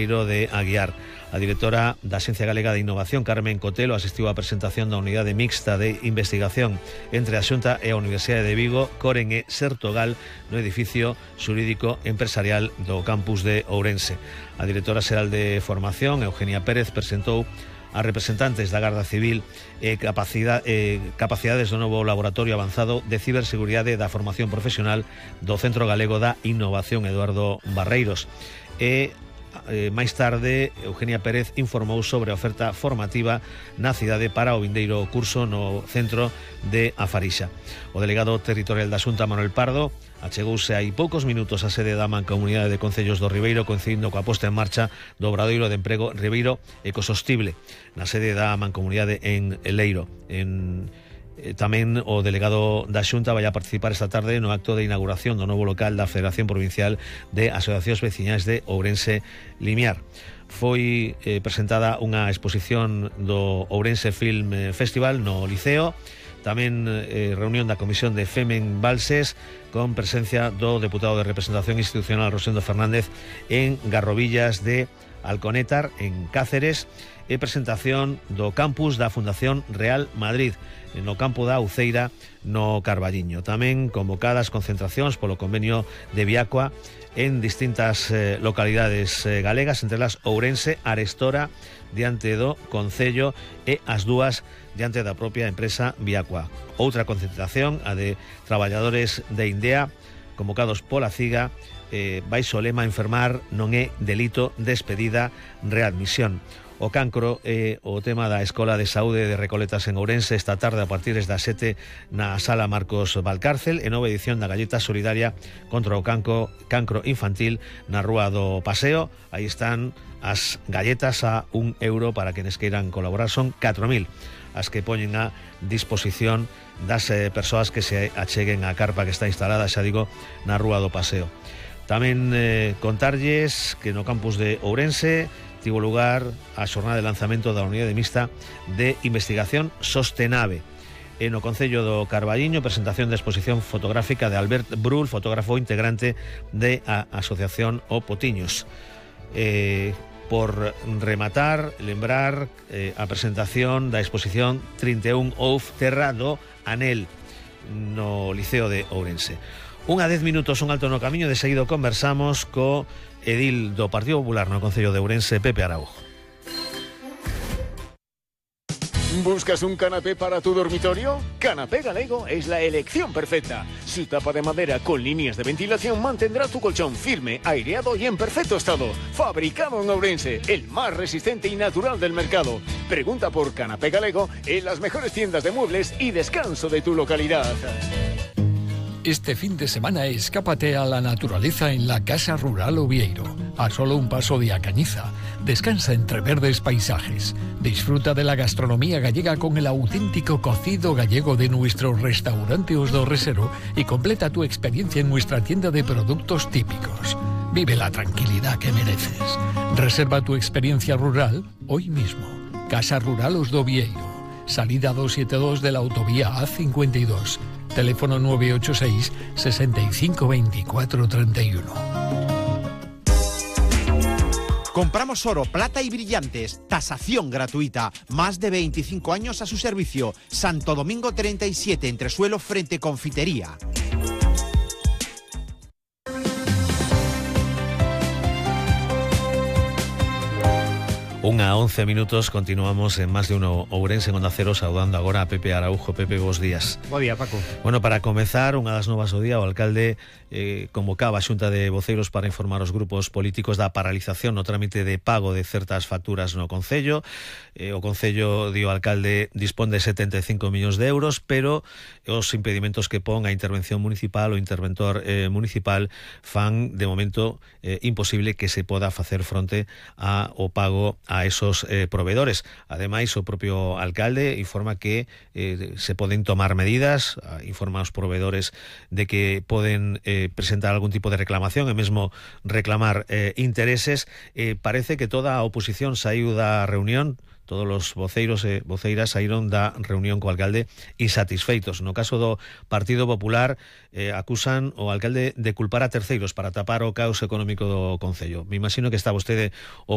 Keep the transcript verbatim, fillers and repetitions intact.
de Aguiar. A directora da Axencia Galega de Innovación, Carmen Cotelo, asistiu á presentación da unidade mixta de investigación entre a Xunta e a Universidade de Vigo, Coren e Sertogal, no edificio xurídico empresarial do campus de Ourense. A directora xeral de Formación, Eugenia Pérez, presentou a representantes da Garda Civil e capacidade, eh, capacidades do novo laboratorio avanzado de ciberseguridade da formación profesional do Centro Galego da Innovación Eduardo Barreiros. E Eh, máis tarde, Eugenia Pérez informou sobre a oferta formativa na cidade para o vindeiro curso no centro de A Farixa. O delegado territorial da Xunta, Manuel Pardo, achegouse hai poucos minutos á sede da Mancomunidade de Concellos do Ribeiro, coincidindo coa posta en marcha do Obradoiro de Emprego Ribeiro Ecosostible, na sede da Mancomunidade en Leiro. En Tamén o delegado da Xunta vai a participar esta tarde no acto de inauguración do novo local da Federación Provincial de Asociacións Veciñais de Ourense Limiar. Foi eh, presentada unha exposición do Ourense Film Festival no Liceo, tamén eh, reunión da Comisión de Femen Balses con presencia do deputado de Representación Institucional Rosendo Fernández en Garrovillas de Alconétar, en Cáceres, e presentación do campus da Fundación Real Madrid no campo da Uceira, no Carballiño. Tamén convocadas concentracións polo convenio de Viacua en distintas eh, localidades eh, galegas, entre las Ourense, Arestora, diante do Concello, e as dúas diante da propia empresa Viacua. Outra concentración, a de traballadores de Indea, convocados pola CIGA, eh, baixo o lema enfermar non é delito, despedida, readmisión. O cancro é o tema da Escola de Saúde de Recoletas en Ourense esta tarde a partir das sete na Sala Marcos Valcárcel, en nova edición da Galleta Solidaria contra o cancro, cancro infantil na Rúa do Paseo. Aí están as galletas a un euro para quenes queiran colaborar. Son catro mil as que poñen a disposición das eh, persoas que se acheguen á carpa que está instalada, xa digo, na Rúa do Paseo. Tamén eh, contarlles que no campus de Ourense tivo lugar a xornada de lanzamento da unidade mixta de investigación Sostenave. E no Concello do Carballiño, presentación de exposición fotográfica de Albert Brul, fotógrafo integrante de a Asociación O Potiños. Eh, por rematar, lembrar eh, a presentación da exposición trinta e un Ouf Terra do Anel no Liceo de Ourense. Un a dez minutos, un alto no camiño, de seguido conversamos co edil do Partido Popular no Concello de Ourense, Pepe Araujo. ¿Buscas un canapé para tu dormitorio? Canapé Galego es la elección perfecta. Su tapa de madera con líneas de ventilación mantendrá tu colchón firme, aireado y en perfecto estado. Fabricado en Ourense, el más resistente y natural del mercado. Pregunta por Canapé Galego en las mejores tiendas de muebles y descanso de tu localidad. Este fin de semana escápate a la naturaleza en la Casa Rural Ovieiro, a solo un paso de A Cañiza. Descansa entre verdes paisajes. Disfruta de la gastronomía gallega con el auténtico cocido gallego de nuestro restaurante Os do Resero y completa tu experiencia en nuestra tienda de productos típicos. Vive la tranquilidad que mereces. Reserva tu experiencia rural hoy mismo. Casa Rural Os do Ovieiro. Salida doscientos setenta y dos de la autovía A cincuenta y dos. Teléfono nueve ocho seis, sesenta y cinco, veinticuatro, treinta y uno. Compramos oro, plata y brillantes. Tasación gratuita. Más de veinticinco años a su servicio. Santo Domingo treinta y siete, entresuelo frente Confitería. Unha a once minutos, continuamos en Más de Uno Ourense en Onda Cero, saudando agora a Pepe Araujo. Pepe, bos días. Bo día, Paco. Bueno, para comezar, unha das novas do día, o alcalde eh, convocaba a Xunta de Voceiros para informar os grupos políticos da paralización no trámite de pago de certas facturas no Concello. Eh, o Concello, di o alcalde, dispón de setenta e cinco millóns de euros, pero os impedimentos que pon a intervención municipal, o interventor eh, municipal, fan de momento eh, imposible que se poda facer fronte ao pago a esos eh, proveedores. Ademais, o propio alcalde informa que eh, se poden tomar medidas, informa aos proveedores de que poden eh, presentar algún tipo de reclamación e mesmo reclamar eh, intereses. Eh, parece que toda a oposición saiu da reunión, todos os voceiros e voceiras saíron da reunión co alcalde insatisfeitos. No caso do Partido Popular, eh, acusan o alcalde de culpar a terceiros para tapar o caos económico do concello. Me imagino que está vostede o